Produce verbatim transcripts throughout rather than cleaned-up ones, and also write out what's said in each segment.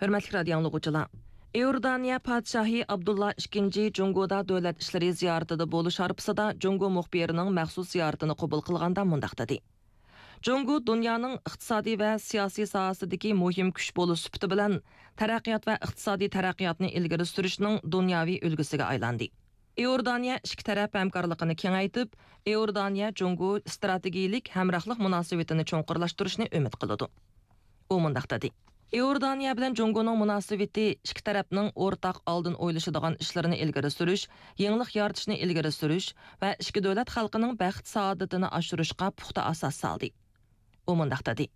ھۆرمەتلىك رادىيو ئاڭلىغۇچىلار! ئىئوردانىيە پادىشاھى ئابدۇللا ئىككىنچى جۇڭگودا دۆلەت ئىشلىرى زىيارىتىدە بولۇش ھارپىسىدا جۇڭگو مۇخبىرىنىڭ مەخسۇس زىيارىتىنى قوبۇل قىلغاندا مۇنداق دېدى: جۇڭگو دۇنيانىڭ ئىقتىسادىي ۋە سىياسىي ساھەسىدىكى مۇھىم كۈچ بولۇش سۈپىتى بىلەن تەرەققىيات ۋە ئىقتىسادىي تەرەققىياتنى ئىلگىرى سۈرۈشنىڭ دۇنياۋى ئۈلگىسىگە ئايلاندى. ئىئوردانىيە ئىككى تەرەپ ھەمكارلىقىنى كېڭەيتىپ، ئىئوردانىيە جۇڭگو ئىستراتېگىيىلىك ھەمراھلىق مۇناسىۋىتىنى چوڭقۇرلاشتۇرۇشنى ئۈمىد قىلىدۇ. ئۇ مۇنداق دېدى: ئىئوردانىيە بىلەن جۇڭگونىڭ مۇناسىۋىتى ئىككى تەرەپنىڭ ئورتاق ئالدىن ئويلىشىدىغان ئىشلىرىنى ئىلگىرى سۈرۈش، يېڭىلىق يارىتىشنى ئىلگىرى سۈرۈش ۋە ئىككى دۆلەت خەلقىنىڭ بەخت-سائادىتىنى ئاشۇرۇشقا پۇختا ئاساس سالدى. ئۇ مۇنداق دېدى: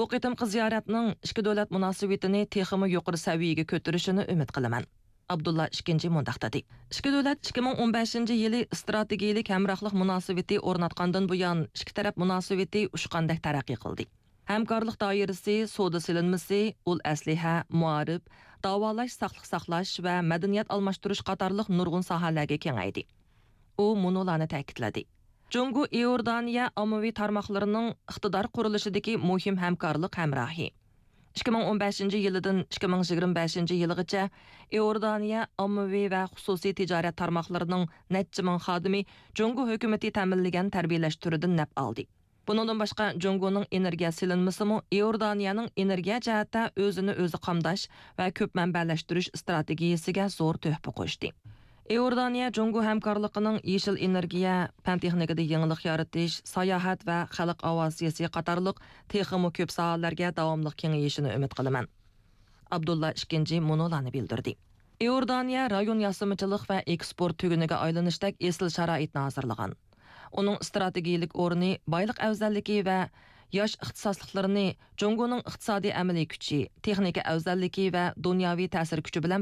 بۇ قېتىمقى زىيارەتنىڭ ئىككى دۆلەت مۇناسىۋىتىنى تېخىمۇ يۇقىرى سەۋىيەگە كۆتۈرۈشىنى ئۈمىد قىلىمەن. ئابدۇللا ئىككىنچى مۇنداق دېدى: ئىككى دۆلەت ئىككى مىڭ ئون بەشىنچى يىلى ئىستراتېگىيىلىك ھەمراھلىق مۇناسىۋىتى ئورناتقاندىن بۇيان، ئىككى تەرەپ مۇناسىۋىتى ئۇچقاندەك تەرەققىي قىلدى. ھەمكارلىق دائىرىسى، سودا سېلىنمىسى، ئۇل ئەسلىھە، مائارىپ، داۋالاش، ساقلىق ساقلاش ۋە مەدەنىيەت ئالماشتۇرۇش قاتارلىق نۇرغۇن ساھەلەرگە كېڭەيدى. ئۇ مۇنۇلارنى تەكىتلىدى: جۇڭگو ئىئوردانىيە ئاممىۋى تارماقلىرىنىڭ ئىقتىدار قۇرۇلۇشىدىكى مۇھىم ھەمكارلىق ھەمراھى. ئىككى مىڭ ئون بەشىنچى يىلىدىن ئىككى مىڭ يىگىرمە بەشىنچى يىلىغىچە ئىئوردانىيە ئاممىۋى ۋە خۇسۇسىي تىجارەت تارماقلىرىنىڭ نەچچە مىڭ خادىمى جۇڭگو ھۆكۈمىتى تەمىنلىگەن تەربىيەلەشتۈرۈدىن نەپ ئالدى. بۇنىڭدىن باشقا، جۇڭگونىڭ ئېنېرگىيە سېلىنمىسىمۇ ئىئوردانىيەنىڭ ئېنېرگىيە جەھەتتە ئۆزىنى ئۆزى قامداش ۋە كۆپ مەنبەلەشتۈرۈش ئىستراتېگىيىسىگە زور تۆھپە قوشتى. ئىئوردانىيە جۇڭگو ھەمكارلىقىنىڭ يېشىل ئېنېرگىيە، پەن تېخنىكىدا يېڭىلىق يارىتىش، ساياھەت ۋە خەلق ئاۋىئاتسىيىسى قاتارلىق تېخىمۇ كۆپ ساھەلەرگە داۋاملىق كېڭىيىشىنى ئۈمىد قىلىمەن. ئابدۇللا ئىككىنچى مۇنۇلارنى بىلدۈردى: ئىئوردانىيە رايون ياسىمىچىلىق ۋە ئېكسپورت تۈگۈنىگە ئايلىنىشتەك ئېسىل شارائىتنى ھازىرلىغان. ئۇنىڭ ئىستراتېگىيىلىك ئورنى، بايلىق ئەۋزەللىكى ۋە ياش ئىختىساسلىقلىرىنى جۇڭگونىڭ ئىقتىسادىي ئەمەلىي كۈچى، تېخنىكا ئەۋزەللىكى ۋە دۇنياۋى تەسىر كۈچى بىلەن